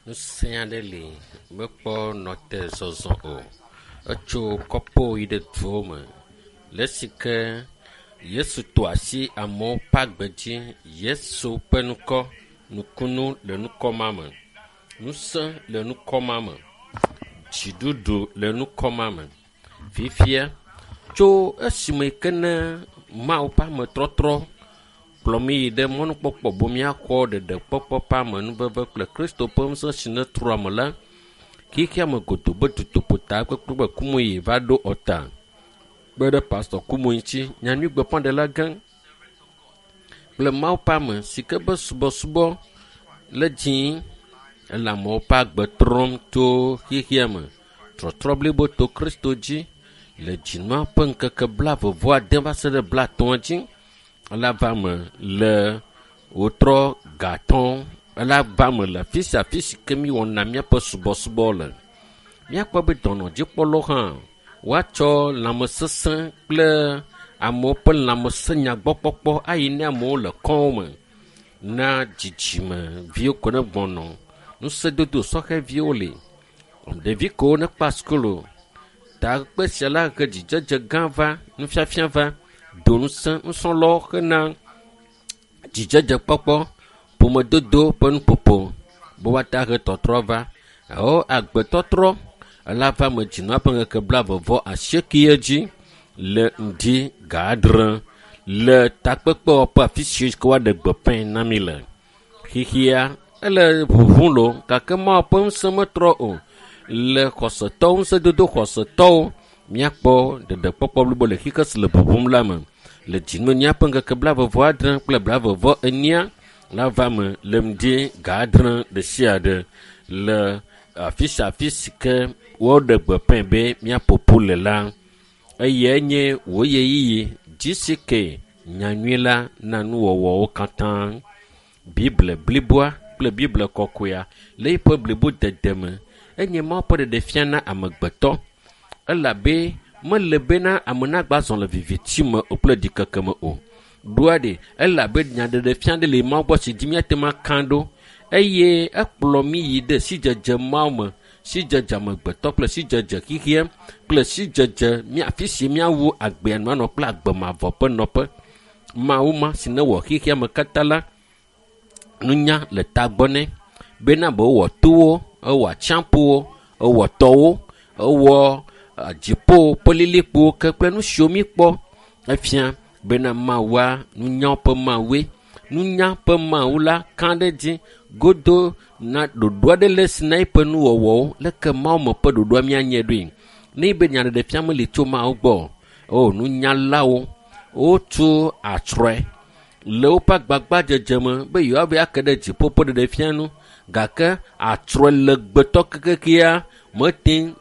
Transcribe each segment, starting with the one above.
Ŋusẽ aɖe li mekpɔ nɔte zɔzɔ o. Etso kɔƒewo yi ɖe duwo me le esi ke Yesu tɔ asi amewo ƒe agbe dzi. Yesu ƒe ŋkɔ, nukunu le ŋkɔ ma me. Ŋusẽ le ŋkɔ ma me. Dziɖuɖu le ŋkɔ ma me. Fifia tso esime ke ne Mawu ƒe ametrɔtrɔ kplɔ mi yi ɖe mɔnukpɔkpɔ be míaxɔ ɖeɖekpɔkpɔ ƒe amenuveve kple Kristo ƒe ŋusẽ si netrɔ ame la, xexea me godoo be dutoƒota kpekpe Kumuyi va ɖo ɔta kpe ɖe Pastor Kumuyi ŋuti, nyanyuigbeƒãɖela gã kple Mawu ƒe ame si ke be subɔsubɔ le dzĩ ele amewo ƒe agbe trɔm tso xexea me. Trɔtrɔ blibo to Kristo dzi le dzinua ƒe ŋkeke blaeve-vɔ-ade va se ɖe blaetɔ̃a dzi. Ela va me le wotrɔ gatɔ̃. Ela va me le afi sia afi si ke míwɔna míaƒe subɔsubɔ le. Míakpɔ be dɔnɔdzikpɔlawo hã woatsɔ lãmesesẽ kple amewo ƒe lãmesẽnyagbɔkpɔkpɔ ayi ne amewo le kɔwo me na dzidzimeviwo ko ne gbɔnɔ. Ŋusẽdodo sɔhɛviwo li. Ɖevi kewo nekpa sukulu. Takpekpe sia la he dzidzedze gã va, nufiafia va, do ŋusẽ nusrɔ̃lawo hena dzidzedzekpɔkpɔ, ƒomedodo ƒe nuƒoƒo be woate ahe tɔtrɔ va. Alo agbetɔtrɔ ela va me dzinua ƒe ŋkeke blaeve vɔ asieke dzi le ŋdi ga adre le takpekpewɔƒe afi si ke woaɖe gbeƒãe na mi le. Xexea ele ʋuʋum loo gake Mawu ƒe ŋusẽ metrɔ o. Le xɔsetɔwo ŋusẽdodo xɔsetɔwo míakpɔ ɖeɖekpɔkpɔ blibo le xexe si le ʋuʋum la me. Le dzinɔnyia ƒe ŋkeke blaeve vɔ adre kple blaeve vɔ enyia la va me le ŋdi ga adre ɖe sia ɖe le afi sia afi si ke woɖe gbeƒãe be míaƒo ƒu le la. Eyae nye wò ɣeyiɣi GCK nyanyui la na nuwɔwɔwo katã. Bible bliboa kple Bible kɔkɔea le eƒe blibodede me enye Mawu ƒe ɖeɖefia na amegbetɔ elabe mele bena ame nagba zɔ le viviti me o kple ɖikeke me o. Ɖoa ɖe elabe nyaɖeɖefia ɖe le Mawu gbɔ si dzi míate ŋu aka ɖo eye ekplɔ mí yi ɖe sidzedze Mawu me, sidzedze amegbetɔ kple sidzedze xexea kple sidzedze mía afi si míawu agbea nu anɔ kple agbe mavɔ ƒe nɔƒe. Mawu ma si newɔ xexea me katã la, nunya le tagbɔ nɛ bena be wowɔ towo, ewɔ atsiaƒuwo, ewɔ tɔwo, ewɔ dziƒo ƒe lilikpowo ke kple nu siwo míkpɔ. Efia bena Mawua nunya ƒe Mawue. Nunya ƒe Mawu la ka ɖe edzi godo na ɖoɖo aɖe le esi na eƒe nuwɔwɔwo. Leke Mawu me ƒe ɖoɖoa míanye ɖoe. Ne be nyaɖeɖefia meli tso Mawu gbɔ o, nunyalawo wotu atsrɔe le woƒe agbagbadzedze me be yewoava ake ɖe dziƒo ƒe ɖeɖefia nu gake atsrɔe legbetɔ kekekea mete ŋu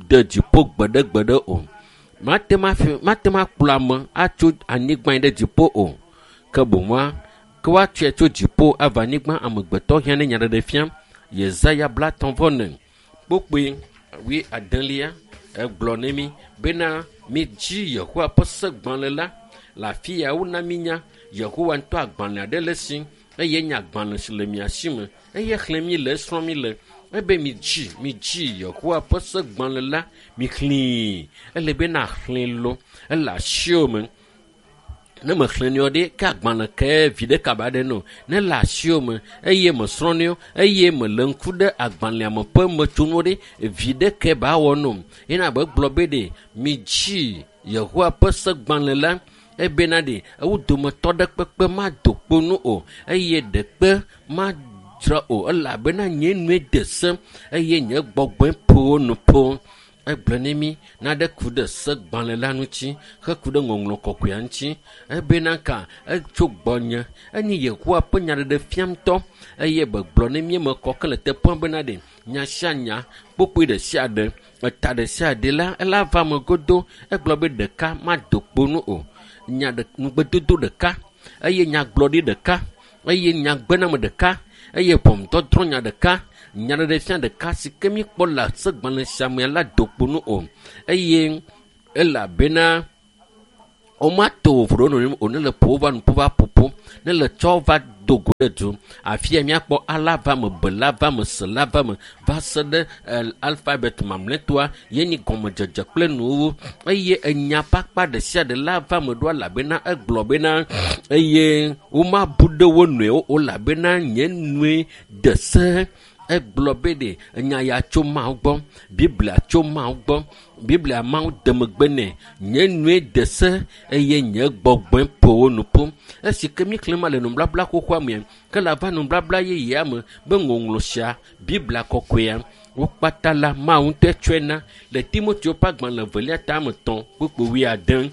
de dziƒo gbeɖegbeɖe o. Mate ŋu afi mate ŋu akplɔ ame atso anyigba yi ɖe dziƒo o. Ke boŋua ke woatsɔe tso dziƒo ava anyigba amegbetɔ hiã ne nyaɖeɖefia. Yesaya blatɔ̃ vɔ ene kpokpoe wuiadelia egblɔ ne mi bena midzi Yehowa ƒe segbalẽ la le afi ya wona mínya Yehowa ŋutɔ agbalẽ aɖe le esi eye nye agbalẽ si le mia si me eye xlẽm mi le esrɔ̃m mi le ebe midzi midzi Yehowa ƒe segbalẽ la mixlẽe ele be naxlẽe lo ele asiwò me. Ne mexlẽnɛ o ɖe ke agbalẽ ke viɖe kaba ɖe no. Ne le asiwò me eye mesrɔ̃nɛ o eye mele ŋku ɖe agbalẽa me ƒe metsonuwo ɖe viɖe ke ba wɔ no. Yena be gblɔ be ɖe midzi Yehowa ƒe segbalẽ la ebena ɖe ewo dometɔ ɖe kpekpe mado kpo nu o eye ɖekpe madzra o elabena nye nue de se eye nye gbɔgbɔe ƒo wo nu ƒo. Egblɔ ne mí naɖe ku ɖe segbalẽ la ŋuti heku ɖe ŋɔŋlɔ kɔkɔea ŋuti ebena ka etso gbɔnye enye Yehowa ƒe nyaɖeɖefia ŋutɔ eye begblɔ ne mí eme kɔ ke le teƒea bena ɖe nya sia nya kpokpoe ɖe sia ɖe eta ɖe sia ɖe la ela va eme godo. Egblɔ be ɖeka mado kpo nu o. Nya ɖe ŋugbedodo ɖeka eye nyagblɔɖi ɖeka eye nyagbename ɖeka eye ʋɔnudɔdrɔ̃ nya ɖeka nyaɖeɖefia ɖeka si ke míkpɔ le segbalẽ sia me la do kpo nu o eye elabena womato vovo ɖe wo nɔnɔewo o ne le ƒo wova nu ƒo va ƒoƒo. ƒu ne le tsɔ va do go ɖe du afia míakpɔ A la va me, B la va me, C la va me va se ɖe alfabet mamlɛtɔa ye nyi gɔmedzedze kple nuwuwu eye enya ƒe akpa ɖe sia ɖe la va me ɖo elabena egblɔ bena eye womabu ɖe wo nɔewo o elabena nye nue de se. Egblɔ be ɖe enya ya tso Mawu gbɔ, Biblia tso Mawu gbɔ, Biblia Mawu de megbe nɛ, nye nue de se eye nye gbɔgbɔe ƒo wo nu ƒu. Esi ke míexlẽ ma le nubabla xoxoa mea, ke le ava nubabla yeyea me be ŋɔŋlɔ sia, Biblia kɔkɔea, wo kpata la Mawu ŋutɔe tsɔe na le Timoteo ƒe agbalẽ evelia tame 3 kpukpui 8.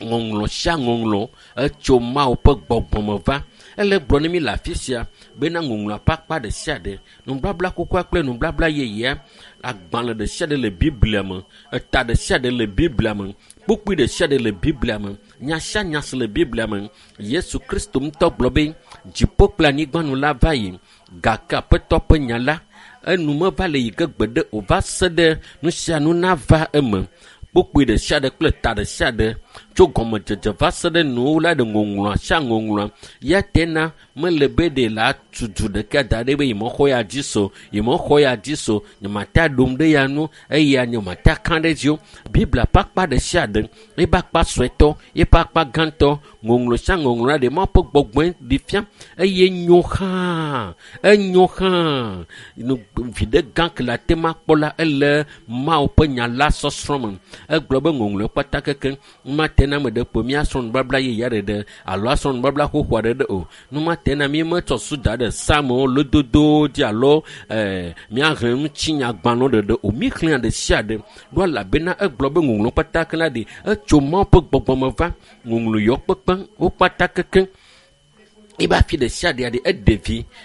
Ŋɔŋlɔ sia ŋɔŋlɔ etso Mawu ƒe gbɔgbɔ me va. Ele gblɔ ne mi le afi sia bena ŋɔŋlɔa ƒe akpa ɖe sia ɖe, nubabla xoxoa kple nubabla yeyea, agbalẽ ɖe sia ɖe le Biblia me, eta ɖe sia ɖe le Biblia me, kpukpui ɖe sia ɖe le Biblia me, nya sia nya si le Biblia me. Yesu Kristo ŋutɔ gblɔ be dziƒo kple anyigba nu la va yi, gake Aƒetɔ ƒe nya la enu meva le yi ge gbeɖe o va se ɖe nu sia nu nava eme. Kpukpui ɖe sia ɖe kple ta ɖe sia ɖe tso gɔmedzedze va se ɖe nuwo la ɖe ŋɔŋlɔa sia ŋɔŋlɔa ya tena mele be ɖe la tu du ɖeka da ɖe be yemexɔ ya dzi so, yemexɔ ya dzi so, nyemate ɖom ɖe ya nu eye nyemate ka ɖe dzi o. Biblia ƒe akpa ɖe sia ɖe, eƒe akpa suetɔ, eƒe akpa gãtɔ, ŋɔŋlɔ sia ŋɔŋlɔ la ɖe Mawu ƒe gbɔgbɔe ɖi fia eye nyo hã, enyo hã. Viɖe gã ke le ate ma kpɔ la ele Mawu ƒe nya la sɔsrɔ̃ me. Egblɔ be ŋɔŋlɔe kpata keke mate na ame ɖe kpo míasrɔ̃ nubabla yeyea ɖeɖe alo asrɔ̃ nubabla xoxoa ɖeɖe o. Nu mate na mí metsɔ su da ɖe Psalmowo, lododowo dzi alo míaxlẽ ŋutinyagbalẽwo ɖeɖe o. Míxlẽa ɖe sia ɖe ɖo elabena egblɔ be ŋɔŋlɔ kpata ke la ɖi etso Mawu ƒe gbɔgbɔ me va. Ŋɔŋlɔ yɔ kpekpe wo kpata keke. Ebe afi ɖe sia ɖe ɖe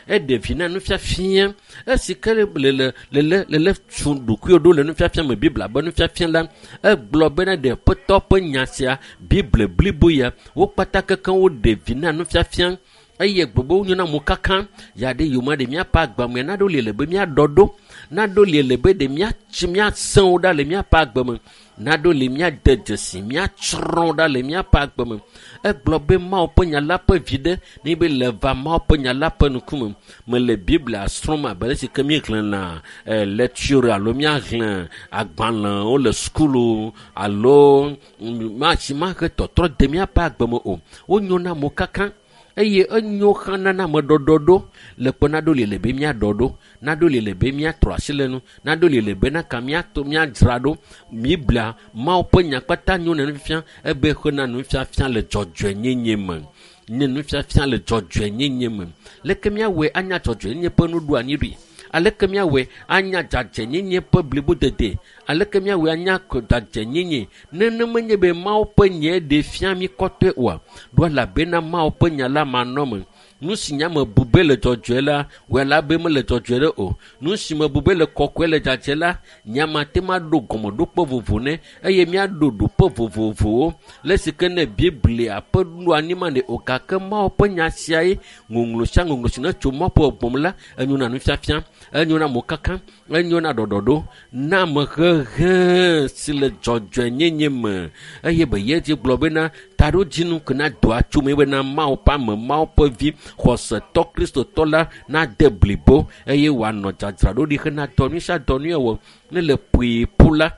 eɖe vi na nufiafia. Esi ke le le tu ɖokuiwo ɖo le nufiafia me, Biblia be nufiafia la, egblɔ bena ɖe Aƒetɔ ƒe nya sia, Biblia blibo ya, wo kpata keke woɖe vi na nufiafia eye gbogbo wonyo na mokaka ya ɖe yome ɖe míaƒe agbe me naɖo li le be míaɖɔ ɖo, naɖo li le be ɖe míatsi míasẽ wo ɖa le míaƒe agbe me, naɖo li míade dzesi míatsrɔ̃ ɖa le míaƒe agbe me. Egblɔ be Mawu ƒe nya la ƒe viɖe ne be le va Mawu ƒe nya la ƒe ŋkume. Mele Biblia srɔ̃m abe ale si ke míexlẽna lecture alo míaxlẽ agbalẽwo le sukulu alo matsi mahe tɔtrɔ de míaƒe agbe me o. Wonyo na mokaka eye enyo xana na ame ɖɔɖɔɖo le kpe naɖo li le be míaɖɔ ɖo, naɖo li le be míatrɔ asi le nu, naɖo li le be naka míato míadzra ɖo. Biblia Mawu ƒe nya kpata nyo na nufiafia ebe xena nufiafia le dzɔdzɔenyenye me. Nye nufiafia le dzɔdzɔenyenye me. Leke míawɔe anya dzɔdzɔenyenye ƒe nuɖoanyi ɖui? Aleke míawɔe anya dzadzɛnyenye ƒe blibodede? Aleke míawɔe anya dzadzɛnyenye? Nenema nye be Mawu ƒe nya ɖe fia mí kɔtɔe oa? Ɖo elabena Mawu ƒe nya la manɔ me. Nu si nya me bu be le dzɔdzɔe la, wɔe la be mele dzɔdzɔe ɖe o. Nu si me bu be le kɔkɔe le dzadzɛ la, nya mate ma ɖo gɔmeɖokpe vovo nɛ eye míaɖo ɖoƒe vovovowo. Le si ke ne Biblia ƒe nuɖoanyi ma ɖe o, gake Mawu ƒe nya siae ŋɔŋlɔ sia ŋɔŋlɔ si ne tso Mawu ƒe gbɔgbɔ me la, enyo na nufiafia, enyo na mokaka, enyo na ɖɔɖɔɖo, na amehehe si le dzɔdzɔenyenye me. Eye be ye dzi gblɔ bena taɖodzinu ke na doa tso me bena Mawu ƒe ame, Mawu ƒe vi, xɔsetɔ Kristotɔ la nade blibo eye wòanɔ dzadzraɖo ɖi hena dɔ nyui sia dɔ nyui wɔwɔ. Ne le ƒoe ƒu la,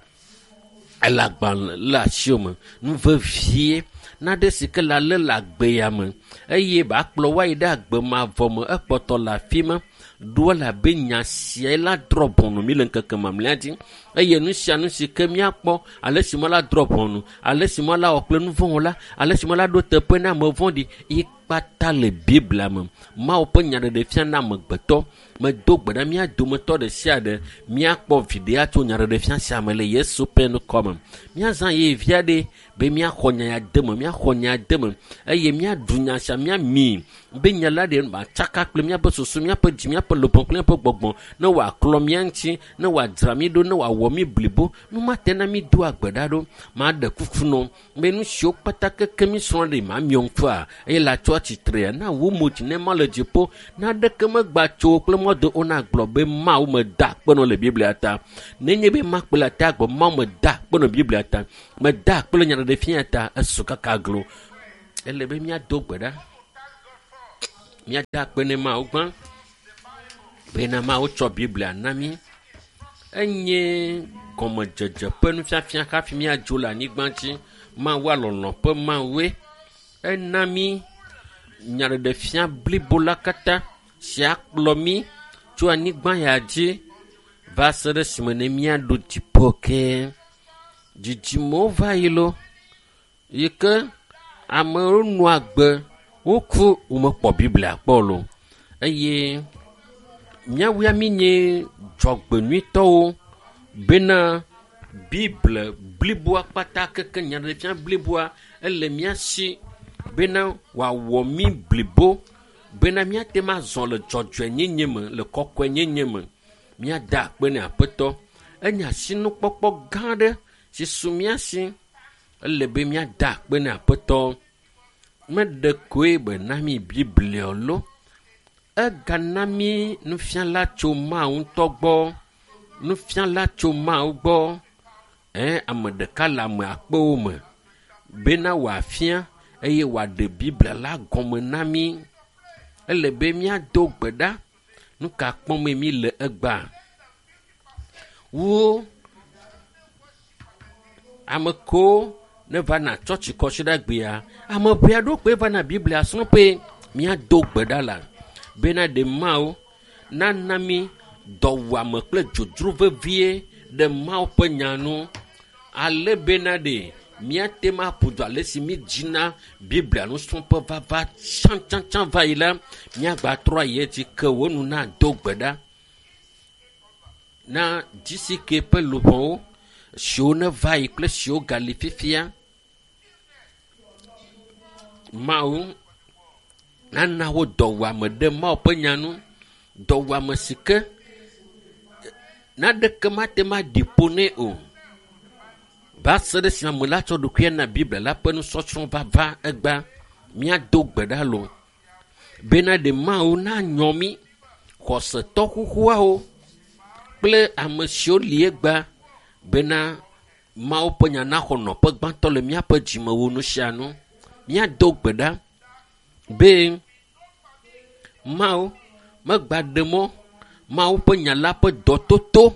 ele agbalẽ le asiwò me. Nu vevie naɖe si ke le alé le agbe ya me eye ba kplɔ woayi ɖe agbe mavɔ me ekpɔtɔ le afi ma. Ɖo elabe nya siae la drɔ̃ ʋɔnu mí le ŋkeke mamlɛa dzi eye nu sia nu si ke míakpɔ ale si ma la drɔ̃ ʋɔnu, ale si ma la wɔ kple nu vɔ̃ la, ale si ma la ɖo teƒe na ame vɔ̃ɖi ye kpata le Biblia me. Mawu ƒe nya ɖeɖefia na amegbetɔ. Medo gbe ɖa mía dometɔ ɖe sia ɖe míakpɔ viɖe atso nya ɖeɖefia sia me le Yesu ƒe ŋkɔ me. Míazã ɣeyiɣi vi aɖe be míaxɔ nya ya de me, míaxɔ nya de me eye míaɖu nya sia míami be nya la ɖe matsaka kple míaƒe susu, míaƒe dzi, míaƒe luʋɔ kple míaƒe gbɔgbɔ ne wòaklɔ mía ŋuti, ne wòadzra mí ɖo, ne wòawɔ mí blibo. Nu mate na mí do agbe ɖa ɖo. Maɖe kuku nɔ be nu siwo kpata keke mí srɔ̃ ɖe mamiɔ ŋkua eye la tsɔ atsitrea na wu mo dzi ne ma le dziƒo. Naɖeke megba tso kple mɔdo o na gblɔ be Mawu meda akpe nɔ le Biblia ta. Nenye be makpe le ta gbɔ Mawu meda akpe nɔ Biblia ta, meda akpe le nyaɖeɖefia ta, esu kaka glo. Ele be míado gbe ɖa. Míada akpe ne Mawu gbã bena Mawu tsɔ Biblia na mí. Enye gɔmedzedze ƒe nufiafia hafi míadzo le anyigba dzi. Mawua lɔlɔ̃ ƒe Mawue. Ena mí nyaɖeɖefia blibo la katã si akplɔ mí tso anyigba ya dzi va se ɖe esime ne míaɖo dziƒo ke. Dzidzimewo va yi lo yi ke amewo nɔ agbe woku womekpɔ Biblia kpɔ o eye míawoa míenye dzɔgbenyuitɔwo bena Biblia bliboa kpata keke nyaɖeɖefia bliboa ele mía si bena wòawɔ mí blibo bena míate ŋu azɔ le dzɔdzɔenyenye me le kɔkɔenyenye me. Míada akpe ne Aƒetɔ. Enye asinukpɔkpɔ gã aɖe si su mía si. Ele be míada akpe ne Aƒetɔ. Meɖe koe be na mí Biblia lo. Egana mí nufiala tso Mawu ŋutɔ gbɔ. Nufiala tso Mawu gbɔ. Ɛ ame ɖeka le ame akpewo me bena wòafia eye wòaɖe Biblia la gɔme na mí. Ele be míado gbe ɖa. Nu ka kpɔm mí le egbea? Wo ame kewo ne va na tsɔtsi kɔsiɖagbea, ame ʋɛ aɖewo koe va na Biblia srɔ̃ƒe. Míado gbe ɖa la bena ɖe Mawu nana mí dɔwuame kple dzodzro vevie ɖe Mawu ƒe nya nu ale bena ɖe míate ŋu aƒo du ale si mídzina Biblia nusrɔ̃ƒe vava tsãtsãtsã va yi la, míagbatrɔ ayi edzi ke wo nu nado gbe ɖa na GCK ƒe luʋɔwo siwo neva yi kple siwo gali fifia. Mawu nana wo dɔwuame ɖe Mawu ƒe nya nu. Dɔwuame si ke naneke mate ŋu aɖi ƒo nɛ o. Va se ɖe esime ame la tsɔ ɖokuia na Biblia la ƒe nusɔsrɔ̃ vava egbea. Míado gbe ɖa loo bena ɖe Mawu nanyɔ mí xɔsetɔ xoxoawo kple ame siwo li egbea bena Mawu ƒe nya naxɔ nɔƒe gbãtɔ le míaƒe dzime wu nu sia nu. Míado gbe ɖa be Mawu megba ɖe mɔ Mawu ƒe nya la ƒe dɔtoto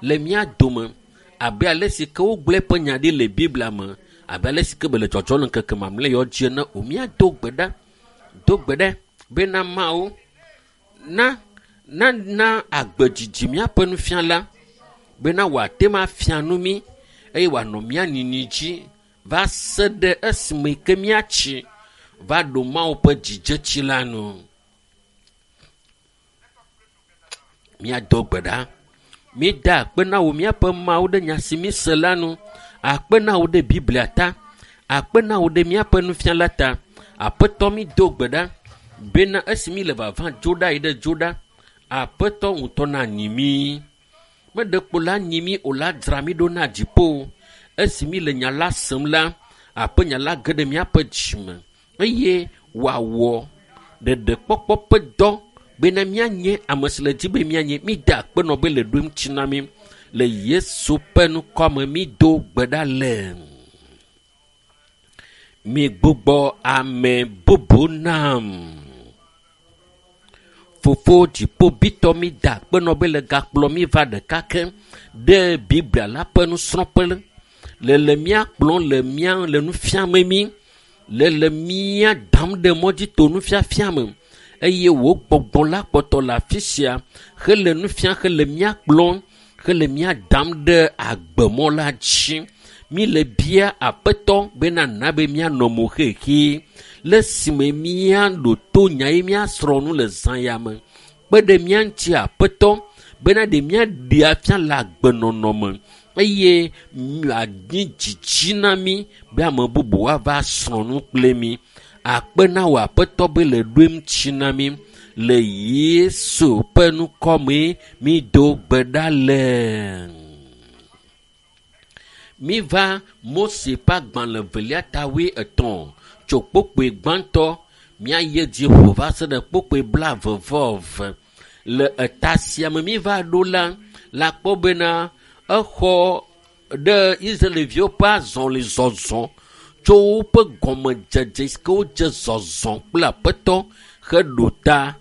le mía dome abe ale si ke wogblɔ eƒe nya ɖi le Biblia me abe ale si ke be le dzɔdzɔm le ŋkeke mamlɛ yawo dzi ene o. Míado gbe ɖa, do gbe ɖa bena Mawu na nana agbe dzidzi míaƒe nufiala bena wòate ŋu afia nu mí eye wòanɔ mía nini dzi va se ɖe esime ke míatsi va ɖo Mawu ƒe dzidzetsi la nu. Míado gbe ɖa. Míeda akpe na wò míaƒe Mawu ɖe nya si míse la nu. Akpe na wò ɖe Biblia ta. Akpe na wò ɖe míaƒe nufiala ta. Aƒetɔ mído gbe ɖa bena esi mí le vava dzo ɖa yi ɖe dzo ɖa, Aƒetɔ ŋutɔ nanyi mí. Meɖe kpo la nyi mí o la dzra mí ɖo na dziƒo. Esi mí le nya la sem la, aƒe nya la ge ɖe míaƒe dzime eye wòawɔ ɖeɖekpɔkpɔ ƒe dɔ bena míanye ame si le dzi be míanye. Mída akpe nɔ be le ɖo eŋuti na mí. Le Yesu ƒe ŋkɔ me mído gbe ɖa le. Migbugbɔ ame bubu nam. Fofo dziƒovitɔ mída akpe nɔ be le gakplɔ mí va ɖeka ke ɖe Biblia la ƒe nusrɔ̃ƒe le le mía kplɔm le mía le nu fiame mí le le mía dam ɖe mɔ dzi to nufiafia me eye wò gbɔgbɔ la kpɔtɔ le afi sia hele nu fiam hele mía kplɔm hele mía dam ɖe agbemɔ la dzi. Mí le bia Aƒetɔ bena na be míanɔ mo xexi le esime míaɖo to nya ye míasrɔ̃ nu le zã ya me. Kpe ɖe mía ŋuti Aƒetɔ bena ɖe míaɖe afia le agbenɔnɔ me eye mianyi dzidzi na mí be ame bubu woava srɔ̃ nu kple mí. Akpe na wò Aƒetɔ be le ɖo eŋuti na mí le Yesu ƒe ŋkɔ me mído gbe ɖa le. Míva Mose ƒe agbalẽ velia ta wuietɔ̃ tso kpokpoe gbãtɔ míayi edzi ƒo va se ɖe kpokpoe blaeve-vɔ-eve. Le eta sia me míva ɖo la, la kpɔ bena exɔ ɖe Israelviwo ƒe azɔlizɔzɔ tso woƒe gɔmedzedze si ke wodze zɔzɔ kple Aƒetɔ Heɖo ta.